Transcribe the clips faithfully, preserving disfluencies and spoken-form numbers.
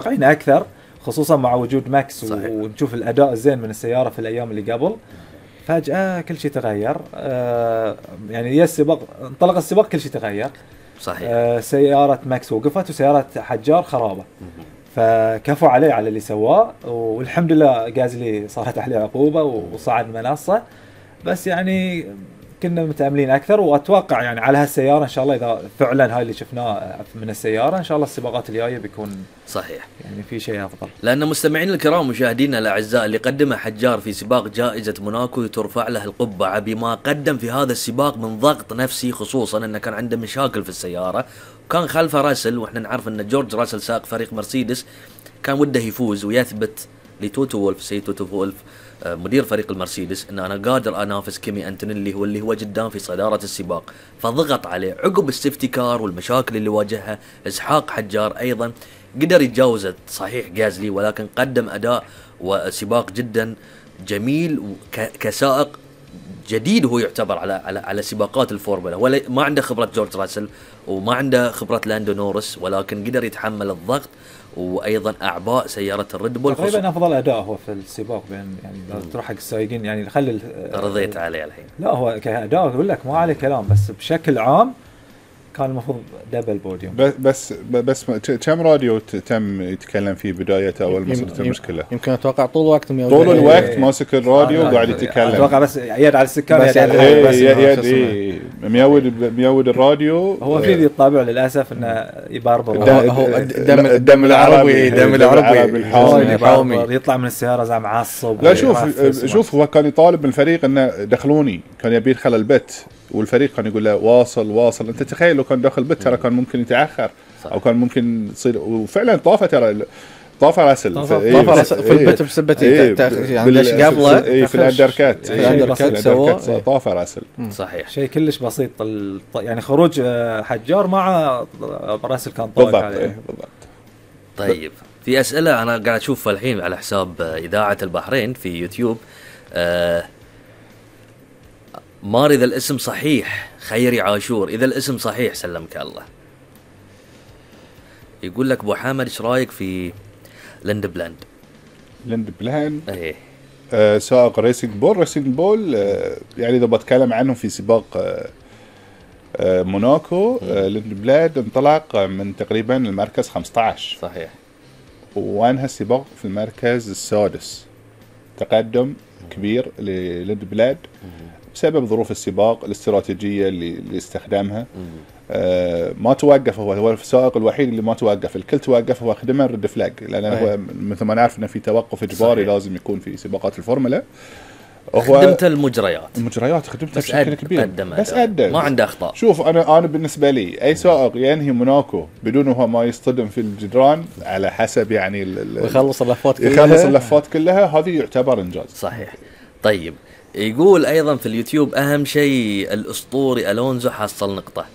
متوقعين اكثر، خصوصا مع وجود ماكس. صحيح. ونشوف الاداء الزين من السياره في الايام اللي قبل. فجاه كل شيء تغير. آه يعني يا السباق انطلق السباق كل شيء تغير. صحيح. آه سياره ماكس وقفت وسياره حجار خرابه. فكفوا عليه على اللي سواه، والحمد لله غازلي صارت عليه عقوبه وصعد منصه. بس يعني كنا متأملين أكثر، وأتوقع يعني على هالسيارة إن شاء الله إذا فعلا هاي اللي شفناه من السيارة إن شاء الله السباقات الجاية بيكون صحيح يعني في شيء أفضل. لأن مستمعين الكرام مشاهدينا الأعزاء، اللي قدمه حجار في سباق جائزة موناكو ترفع له القبعة بما قدم في هذا السباق من ضغط نفسي، خصوصا أنه كان عنده مشاكل في السيارة وكان خلفه راسل، وإحنا نعرف أن جورج راسل سائق فريق مرسيدس كان وده يفوز ويثبت لتوتو وولف سيد توتو وولف مدير فريق المرسيدس ان انا قادر انافس كيمي انتونيلي هو اللي هو قدام في صدارة السباق. فضغط عليه عقب السيفتي كار والمشاكل اللي واجهها. اسحاق حجار ايضا قدر يتجاوز صحيح غازلي، ولكن قدم اداء وسباق جدا جميل كسائق جديد، هو يعتبر على على على سباقات الفورمولا، ولا ما عنده خبرة جورج راسل وما عنده خبرة لاندو نورس، ولكن قدر يتحمل الضغط وايضا اعباء سياره الريد بول. تقريبا افضل اداء هو في السباق بين يعني تروح حق السائقين يعني خلي رضيت عليه الحين. لا هو كاداء اقول لك ما عليه كلام، بس بشكل عام كان المفروض دبل بوديوم. بس بس كم راديو تم يتكلم فيه بداية اول ما صارت المشكله؟ يمكن اتوقع طول الوقت طول الوقت ماسك الراديو وقاعد يتكلم. اتوقع بس يد على السكان بس يد يد ميود ميود الراديو. هو في الطابع للاسف انه يباربر هو الدم الدم العربي دم العربي الحامي يطلع من السياره زي معصب. لا شوف شوف هو كان يطالب من الفريق انه دخلوني، كان يبي يدخل البيت، والفريق كان يقول له واصل واصل. انت تخيل لو كان داخل بيت ترى كان ممكن يتاخر صح. او كان ممكن تصير، وفعلا طافه ترى طاف راسل طاف راسل في البيت بسبتي يعني ليش قبله اي في الاندركات في الاندركات سوى طاف راسل. صحيح شيء كلش بسيط يعني خروج حجار مع راسل كان طاق عليه. طيب في اسئله انا قاعد اشوفها الحين على حساب اذاعه البحرين في يوتيوب. آه مار إذا الاسم صحيح خيري عاشور، إذا الاسم صحيح سلمك الله. يقول لك أبو حامد إيش رأيك في لند بلاند؟ لند بلاند إيه آه سائق ريسينج بول. ريسينج بول آه يعني إذا بتكلم عنه في سباق آه آه موناكو، آه لند بلاند انطلق من تقريبا المركز خمسة عشر صحيح، وانهى السباق في المركز السادس. تقدم كبير للند بلاند بسبب ظروف السباق، الاستراتيجية اللي, اللي استخدمها. آه ما توقف، هو هو السائق الوحيد اللي ما توقف، الكل توقف هو خدمه ريد فلاج، لأن هو مثل ما نعرف إنه في توقف إجباري لازم يكون في سباقات الفورمولا. خدمت المجريات المجريات خدمتها بشكل كبير، بس أدى ما عنده أخطاء. شوف أنا أنا بالنسبة لي أي سائق ينهي موناكو بدون هو ما يصطدم في الجدران على حسب يعني ويخلص اللفات كلها يخلص اللفات كلها هذه يعتبر إنجاز. صحيح. طيب يقول أيضا في اليوتيوب أهم شيء الأسطوري ألونزو حصل نقطة،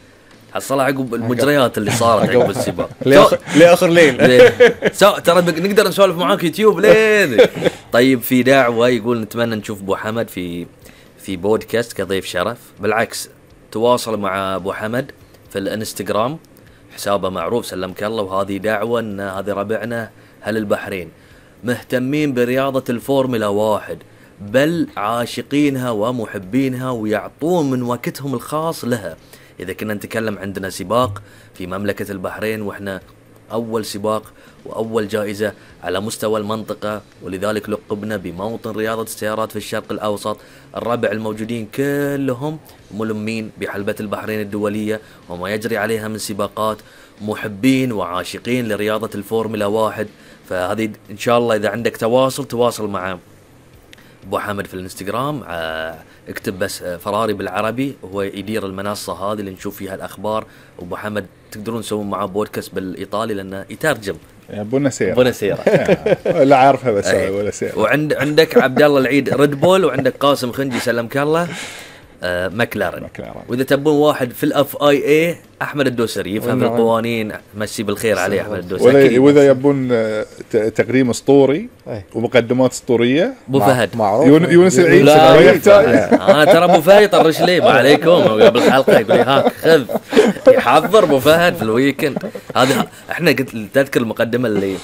حصل عقب المجريات اللي صارت عقب السباق لآخر لين. ترى نقدر نسولف معاك يوتيوب لين. طيب في دعوة يقول نتمنى نشوف أبو حمد في في بودكاست كضيف شرف. بالعكس تواصل مع أبو حمد في الانستغرام، حسابه معروف سلمك الله. وهذه دعوة إن هذه ربعنا هل البحرين مهتمين برياضة الفورمولا واحد، بل عاشقينها ومحبينها ويعطون من وقتهم الخاص لها. إذا كنا نتكلم عندنا سباق في مملكة البحرين، وإحنا أول سباق وأول جائزة على مستوى المنطقة، ولذلك لقبنا بموطن رياضة السيارات في الشرق الأوسط. الربع الموجودين كلهم ملمين بحلبة البحرين الدولية وما يجري عليها من سباقات، محبين وعاشقين لرياضة الفورمولا واحد. فهذه إن شاء الله إذا عندك تواصل تواصل مع أبو حامد في الانستغرام، اكتب بس فراري بالعربي، وهو يدير المنصة هذه اللي نشوف فيها الأخبار. وأبو حامد تقدرون تسوون معه بودكاست بالإيطالي لأنه يترجم. بونا سيرة بونا سيرة لا عارفها بس ولا سيرة. وعند عندك عبد الله العيد ريد بول، وعندك قاسم خنجي سلمك الله آه مكلارن. وإذا تبون واحد في الأف آي إيه أحمد الدوسري يفهم في القوانين، مسي بالخير عليه أحمد الدوسري. وإذا يبون تقديم أسطوري ومقدمات أسطورية أبو فهد يونس العيد ما يحتاج. أنا ترى أبو فهد يطرش لي ما عليكم قبل الحلقة يقول لي هاك خذ، يحضر أبو فهد في الويكند هذا. إحنا قلت تذكر المقدمة اللي